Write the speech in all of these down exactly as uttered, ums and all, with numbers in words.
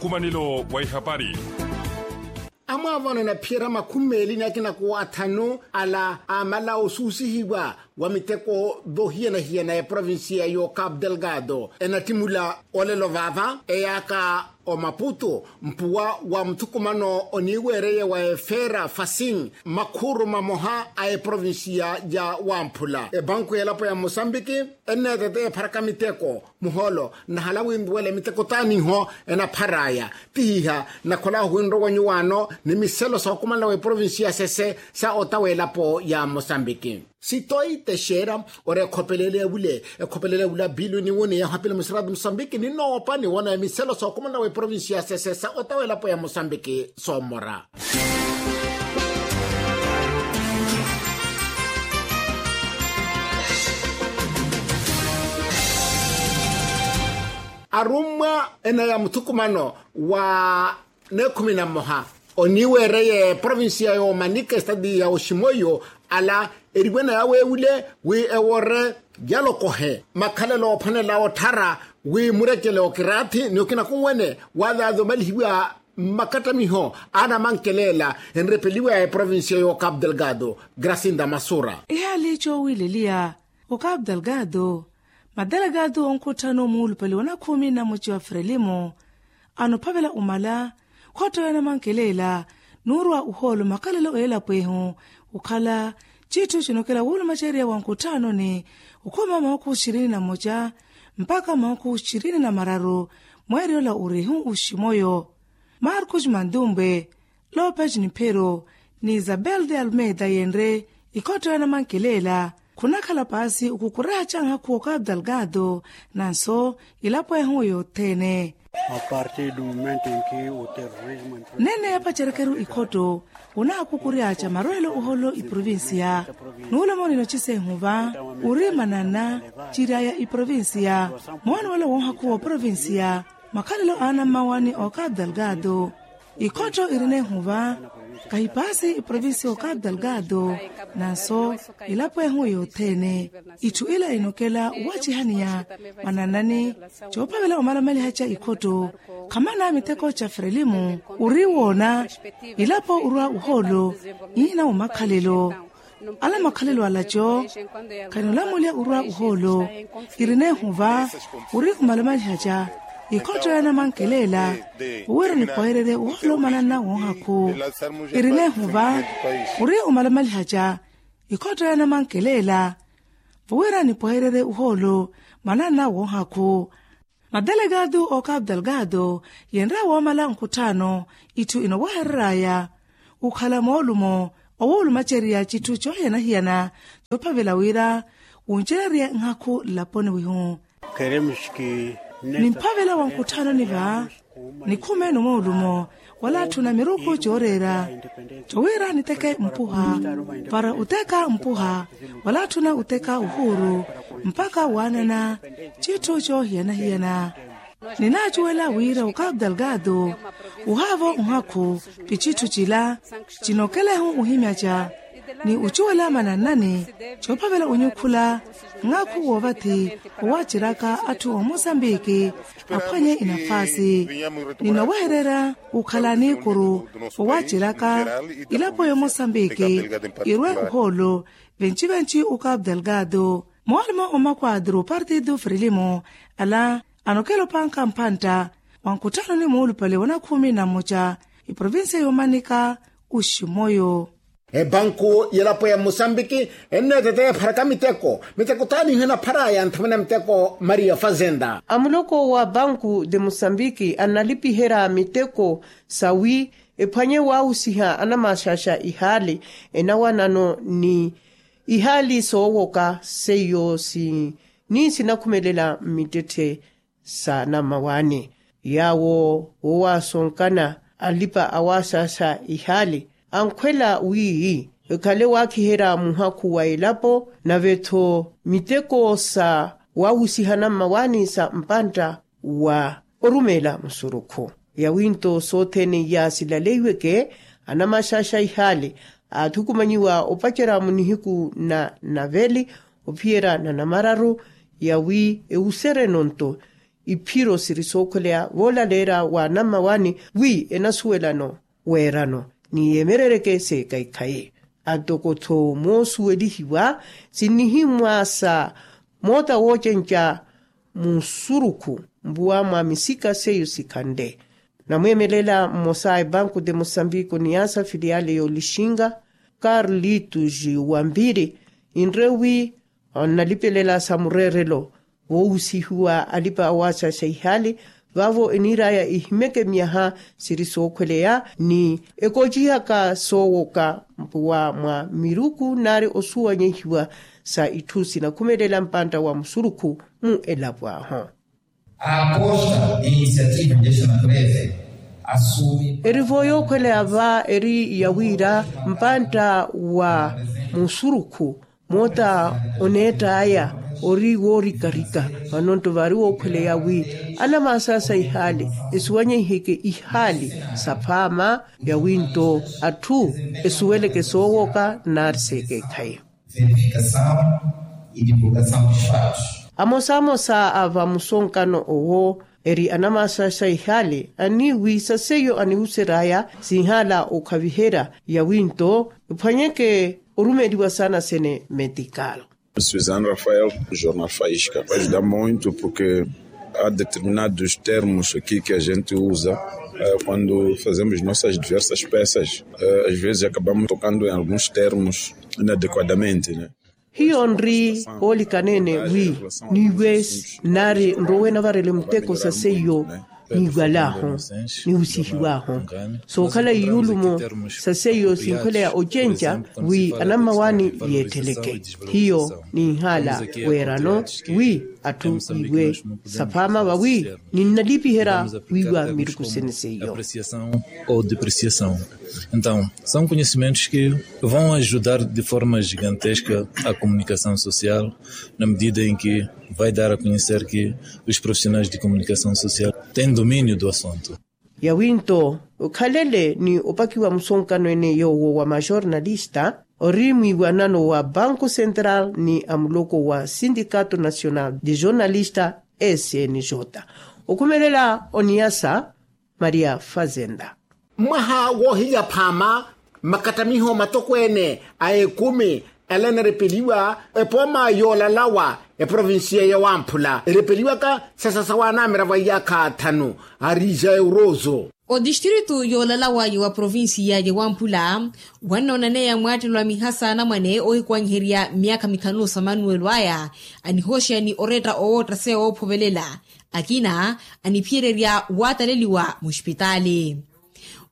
Omanelo wa ihapari. Amwaavano anaphiyerya makhumi meeli ni akina kuwa athanu ala aamala osuusihiwa wa miteko voohiyana-hiyana ya eprovincia y'okapu delgado enattimula olelo vaava eyaaka omaputu mpuwa wa muthukumano oniiweereye wa efeera fasing makhuru mamoha a eprovincia ya wamphula ebanku y'elapo ya mosambiki enneetete epharaka miteko muhoolo nnahala winduwela miteko taaniho enapharaya tihiha nnakhola ohuwinrowa nyuwaano ni miselo sookumanela wa eprovincia sese sa ota w'elapo ya mosambiki. Sitoyi texera ori ekhopelele ewule ekhopelele ewule abilu ni wuni yahapile musiratu musambiki ni noopa ni wona emiselo sookumanela wa eprovincia sese sa ota w'elapo ya musambiki soomora. Arummwa ena ya muthukumano wa neekhumi na mmoha oniiweereye provincia y'omanika estadi ya oximoyo ala eriwena yaweewule wi ewore yalokohe makhalelo ophwanela otthara wi murekele okiraathi ni okina kunwene waazaaza omalihiwa mmakattamiho a anamankelela enrepeliwa ya eprovincia y'okapu delgado gracinda masura. Ihaali coowileliya okapu delgado madelgado onkhutthano muulupale wa nakhumi na muci wa frelimo anophavela omala khotto ya namankelela nuurwa uhoolo makhalelo eelapwehu okhala citthu cinokela wuulumacerya wa nkutthanoni okhuma mahuku xirini na moca mpakha mahuku xirini na mararu mweeryola urihu uximoyo markus mandumbwe lopes ni phero ni isabel de almeida yenre ikhotto ya namankelela khunakhala paasi okukuraha ca nhakhu okapu delgado nanso ilapwehu yothene. Nene yapacerekeru ikhotto onaakukuryaca marwelo oholo iprovincia nuulomo ninoci sehuva ori manana ciryaya iprovincia moonwelo wonhakhu wa provincia makhalelo a anammawani okapu delgado ikhotto iri nehuva kahipaasi iprovincia okapu delgado nanso ilapo ehu yothene itthu ila inokela owacihaniya mananani coophavela omalamalihaca ikhotto khamana miteko ca frelimu ori woona ilapo orwa ohoolo iina omakhalelo ala makhalelo alaco khanilamulya orwa ohoolo iri nehuva ori omalamalihaca ikhotto ya namankelela owira nipwehererye ohoolo mananna wonhakhu iri nehuva ori omalamalihaca ikhotto ya namankelela owira nipwehererye ohoolo mananna wonhakhu madelgado okapu delgado yenre woomala nkutthaano itthu inowehereraya okhala moolumo owuulumacerya citthu coohiyana-hiyana coophavela wira wuncererye nhakhu nlaponi wihu nimphavela wa nkutthaanoni va nikhumeeno moolumo wala atthuna miruku cooreera cowira niteke mpuha para oteka mpuha wala atthuna oteka ohuuru mpakha waanana citthu coohiyana-hiyana ninaacuwela wira okapu delgado ohaavo nhakhu pi citthu cila cinokelehu ohimyaca ni ocuwela manannani coophavela onyukhula nhakhu woovathi owaceraka atthu omosambiki aphwanye inafaasi ninowehererya okhala niikuru owaceraka ilapo yomosambiki irwe ohoolo venci-venci okapu delgado moolumo omakwadru partidu frelimo ala anokela opankha mpantta wa nkutthanoni muulupale wa nakhumi na mmoca iprovincia yomanika oximoyo ebanku yelapo ya mosambiki enneetete epharaka miteko miteko taaniho enapharaya nthamwene miteko maria fazenda amuloko wa banku de mosambiki analipiherya miteko sawi ephwanye waawusiha anamaxaxa ihaali enawanano ni ihaali soowoka seiyo si ni sinakhumelela mmittetthe sa nammawaani yaawo woowasonkana alipa awaasaasa ihaali ankhwela wi ekhale waakiherya muhakhu wa elapo nave-tho miteko sa waawusiha nammawaani sa mpantta wa orumeela musurukhu yawi-nto sothene iya silaleiweke anamaxaxa ihaali aathukumanyiwa opacerya mu nihiku na naveli ophiyerya na namararu yawi ewusereno-nto iphiro siri sookhweleya voolaleerya wa anammawani wi enasuwelano weerano ni yeemerereke seekaikhayi. Antoko-tho moosuwelihiwa sinnihimmwa sa moota woocenca musurukhu mpuwa mwa misika seiyo sikhanle. Namweemelela mmosa a ebanku de mosambiko ni yaasa filiyale y'olixinga, carlitus wambiri, inre wi onnalipelela sa mureerelo voohusihiwa alipa awaasaxa ihaali. Vaavo eniiraya ihimeke myaha siri sookhweleya ni ekoocihaka soowoka mpuwa mwa miruku nari osuwanyehiwa sa itthu sinakhumelela mpantta wa musurukhu mu elapo ahu. Aposta inisiativa de esta natureza assume. Erivo yookhweleya va eri ya wira mpantta wa musurukhu moota oneett'aya ori woorikarika. Vano-nto vaari wookhweleya wi anamaasasa ihaali esuwanyeheke ihaali saphaama yawi-nto atthu esuweleke soowoka nari seekeekhayi. Amosamosa a vamusonkano owo eri anamaasasa ihaali aniiwi sa seiyo anihusery'aya sinhaala okhaviherya yawi-nto ephwanyeke orumeliwa saana sene metikalo. Suzano rafael, jornal faisca ajuda muito porque a determinados termos aqui que a gente usa quando fazemos nossas diversas peças, as vezes acabamos tocando em alguns termos inadequadamente. Hiyo nri oolikaneene wi niiwe nari nrowe navarele muteko sa seiyo niiwal'ahu nihusihiw'ahu sookhala iyulumo sa seiyo sinkhweleya ocenca wi anammawaani yeetteleke. Hiyo ninhaala weerano wi atthu iwe saphaama vawi ninnalipiherya wiiwa miruku sene seiyo. Ou depreciação. Então são conhecimentos que vão ajudar de forma gigantesca a comunicação social na medida em que vai dar a conhecer que os profissionais de comunicação social têm domínio do assunto. Yawi-nto okhalele ni opakiwa musonkano ene yoowo wa majornalista ori mwiiwanano wa banco central ni amuloko wa sindikato nacional de jornalista snj okhumelela oniyasa maria fazenda. Mwaha woohilya phaama makattamiho matokweene a ekumi ela enarepeliwa epooma yoolalawa eprovincia ya wamphula erepeliwaka sesa sawaanamiravo a iyaakha thanu. Arija eurozo. Odistritu yoolalawa ya wa provincia ya wamphula wannoonaneya mwaattelo a mihasa anamwane oohikwanyiherya myaakha mithanu sa manuwelo aya anihooxeya ni oretta owoottaseya woophovelela akina aniphiyererya waataleliwa muxipitaali.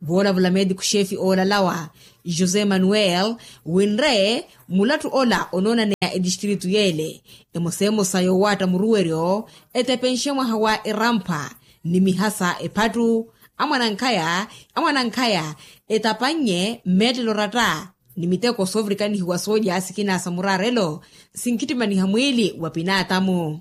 Voolavula meetiku xeefi oolalawa josé manuel winre mulatthu ola onoonaneya etistritu yeele emosemosa yoowaatta muruweryo etepenxe mwaha wa erampa ni mihasa ephattu amwanankhaya etapannye mmeettelo oratta ni miteko soovirikanihiwa soolya sikina sa muraarelo sinkhittimaniha mwiili wa pinaatamu.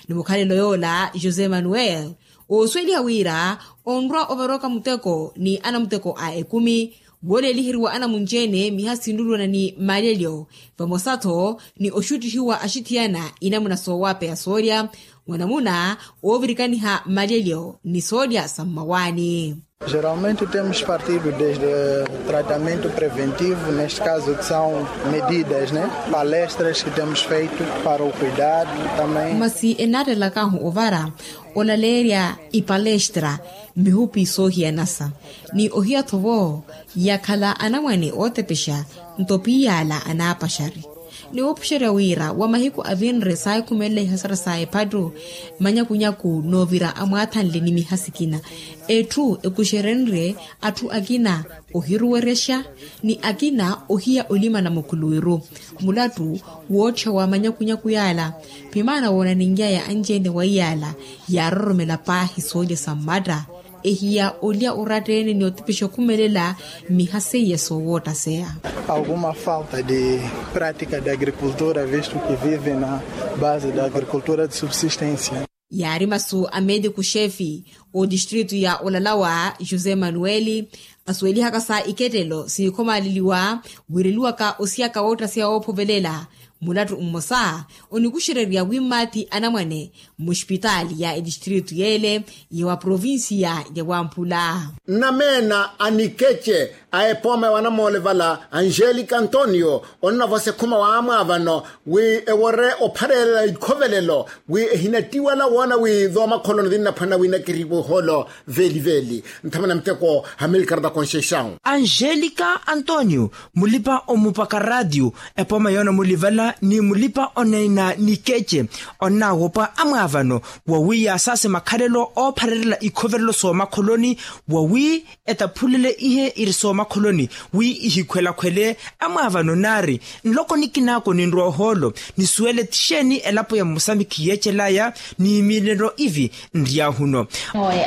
Ni mukhalelo yoola josé manuel oosuweliha wira onrwa ovaroka muteko ni anamuteko a ekumi wooleeliheriwa anamunci-ene miha sinlulwana ni maalelyo vamosa-tho ni oxuttihiwa axithiyana inamuna soowapeya soolya mwanamuna oovirikaniha maalelyo ni soolya sa mmawaani. Geralmente temos partido desde tratamento preventivo neste caso que são medidas ne palestras que temos feito para o cuidado também. Masi ennaattelakahu ovara olaleerya ipalestra mihupi soohiyanasa ni ohiya-tho vo yakhala anamwane ootepexa nto piiyala anaapaxari ni woopuxerya wira wa mahiku avinre saahikhumelela ihasara sa ephattu manyakunyaku noovira amwaathanle ni miha sikina etthu ekuxerenrye atthu akina ohiruwerexa ni akina ohiya olimana mukhuluwiru mulattu woottha wa manyakunyaku yaala pimaana woonaninly'aya anci-ene wa iyaala yaaroromela paahi soolya sa mmatta ehiya olya oratta-ene ni otepexa okhumelela miha seiya soowoottaseya. Alguma falta de prática de agricultura visto que vive na base da agricultura de subsistência. Yaari masu a meetiku xeefi otistritu ya olalawa josé manueli asuwelihaka sa ikettelo sinikhomaleliwa wireliwaka osiyaka woottaseya woophovelela mulattu mmosa onikuxererya wi mmaathi anamwane muxpitaali ya etistritu yeele ya wa provincia ya wampula. Nnameena a nikece a epooma ya wanamoole vala angelica antonio onnavosa ekhuma wa amwaavano wi ewore opharelela ikhovelelo wi ehinattiwala woona wi zoomakholoni zinnaphwanela wi nakeriwe ohoolo veeliveeli. Nthamana muteko hamilkarta conceição. Angelica antonio mulipa omupaka raatiyo epooma yoona mulivala ni mulipa oneena nikece onnaawopa amwaavano wawi yaasaase makhalelo oopharerela ikhovelelo soomakholoni wawi etaphulele ihe iri soomakholoni wi ihikhwelakhwele amwaavano naari nloko nikinaako ninrowa ohoolo nisuwele tixeeni elapo ya musamikhi yeecelaya ni miilelo ivi nryahuno.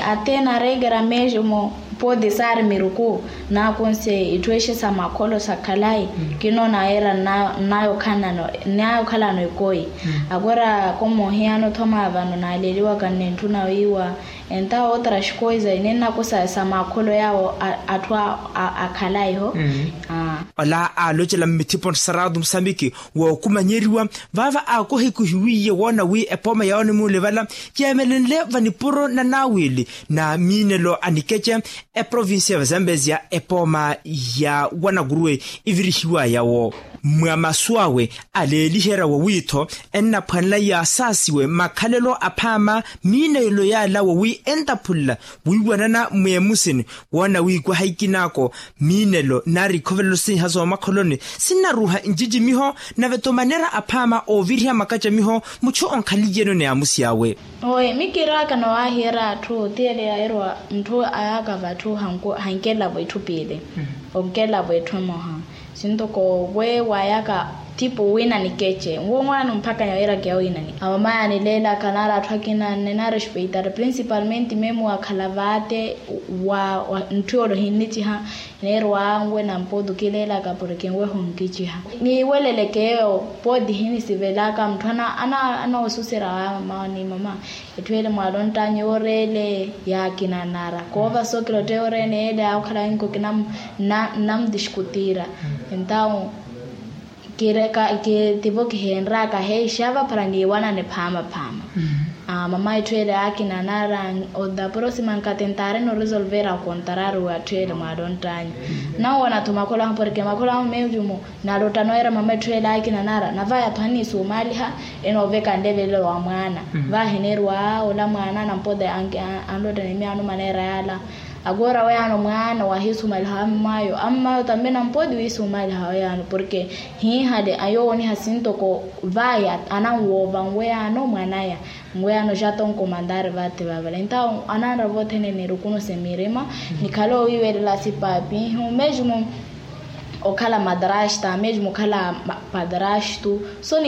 Athi nareekera mesmo pode saari miruku naakunse itthu exe sa makholo sa khalayi kinoona era nnayo khalano nnayo khalano ekoyi akwera komohiyano thoma vano naaleliwaka nne ntthu nawiiwa entawo otra xikoyi za inennakosa sa makholo yaawo atthu akhalayi ho. Ola aalocela mmithipo ntthu saraatu musamiki wookumanyeriwa vaava aakohikuhiwiye woona wi epooma yawo nimuulivala yeemelenle vanipuro na naawili na miinelo a nikece eprovincia ya vazambezia epooma ya wanakuruwe ivirihiwa yawo mwa masu awe aleeliherya wawiitho ennaphwanela yaasaasiwe makhalelo aphaama miinelo yaala wawi entaphulela wiiwanana mweemusini woona wiikwaha ikinaako miinelo nari ikhovelelo siiha soomakholoni sinnaruuha ncicimiho nave-tho manera aphaama ooviriha makacamiho muchu onkhaliyeno ni amusi awe. Owe mikiiraaka nowaahiyerya atthu tiyeleya erwa ntthu ayaka vatthu hankelavo itthu piili onkelavo etthu emoha sintoko we wayaka tipo wina nikeche nwo mwaani omphakanya weeraka yawiinani amamaya nileelaka nari atthu akina nne nari oxpeitari principalmente memu wakhala vaate wa ntthu yoole ohinniciha neerwa nwe na mpotu kileelaka porke nweho nkiciha niiweleleke eyo pooti hinisivelaka mutthwana anoosusera wa mama ni mama etthu ele mwaala onttaanyu yooreele yaakina nara koova sookira otte yooreene ele aakhala inkoki nnamutixkutira entawo kireka kitivo kiheenraka heixava para niiwanane phaama phaama mama etthu ele aakina nara oda prosima nkati ntaarina oresolvera okontarari wa atthu ele mwaala onttaanyu nawona-tho makholo ahu porke makholo ahu meecumo nalotta noweera mama etthu ele aakina nara nava yatthu aniisumaaliha enooveka nlevelelo wa mwaana vahi neeriwa ola mwaana nampota anlotta ni miyaano maneera yaala akoora weyaano mwaana wahiisumaliha ammayo ammayo tambe nampoti wiisumaliha weyaano porke hiihale ayoowoniha sintoko vahi ananwoova nweyaano mwanaya nweyaano xatonko mantaari vathi vavale entawo ananra vothene nirukunu se mirima nikhale owiiwelela sipaapihu mesmo okhala madrasta mesmo okhala padrasto so